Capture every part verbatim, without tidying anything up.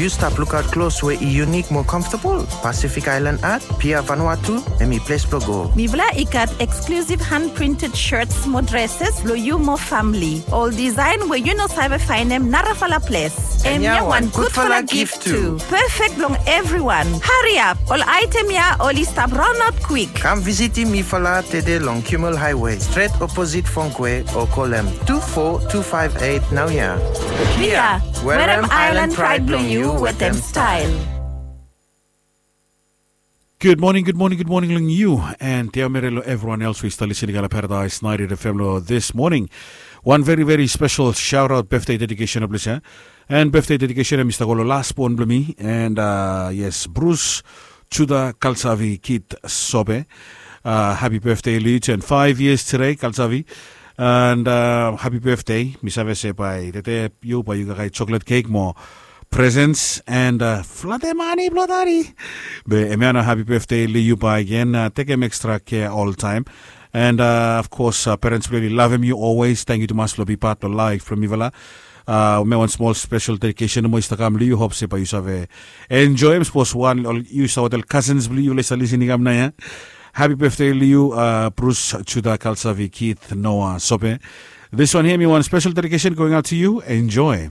Yu stap lukaot klos we i yunik mo comfortable? Pacific Island Art, Pia Vanuatu, hemi ples blong go. Mifala i gat exclusive hand printed shirts mo dresses blong yu mo family. Ol design we yu no save faenem narafala ples. Hemia wan gudfala gift tu. Perfect blong everyone. Hariap, ol item ya oli stap raonaot kwik. Kam visitim mifala tede long Kimmel Highway, stret oposit Fongkwe, o kolem tu fo tu faef eit naoia. Pia, werem island pride blong yu wetem style. Gud moning, gud moning, gud moning long yu. And tiaomere long evriwan els we i stap lisin i gat long Paradise ninety-eight F M long this morning. Wan veri veri spesel shaotaot birthday dedikesen blong yu ya. And birthday dedikesen hemi stap go long lasbon blong mi. And uh, yes, Bruce Judah Kalsavi Kid Sobe. Uh, happy birthday long yu, turn five years today, Kalsavi. And uh, happy birthday. Mi save se bae tede yu bae yu gat kai chocolate cake mo presents and uh, flate mane blong dadi. Be hemia nao happy birthday long yu bae gen. Uh, tekem extra kea oltaem. And uh, of course, uh, parents blong yu oli lavem yu always. Tangkiu tumas blong bi pat blong laef blong mifala. Uh, hemia wan smol spesel dedikesen nomo i stap kam long yu. Hop se bae yu save enjoem. Sapos wan ol yu stap wetem ol cousins blong yu oli stap lisin i kam nao ya. Happy birthday long yu, uh, Bruce Judah Kalsavi Kid Noah Sobe. This one here, mi wan spesel dedikesen going out to you. Enjoy.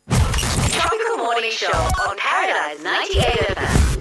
Tropical Morning Show on Paradise ninety-eight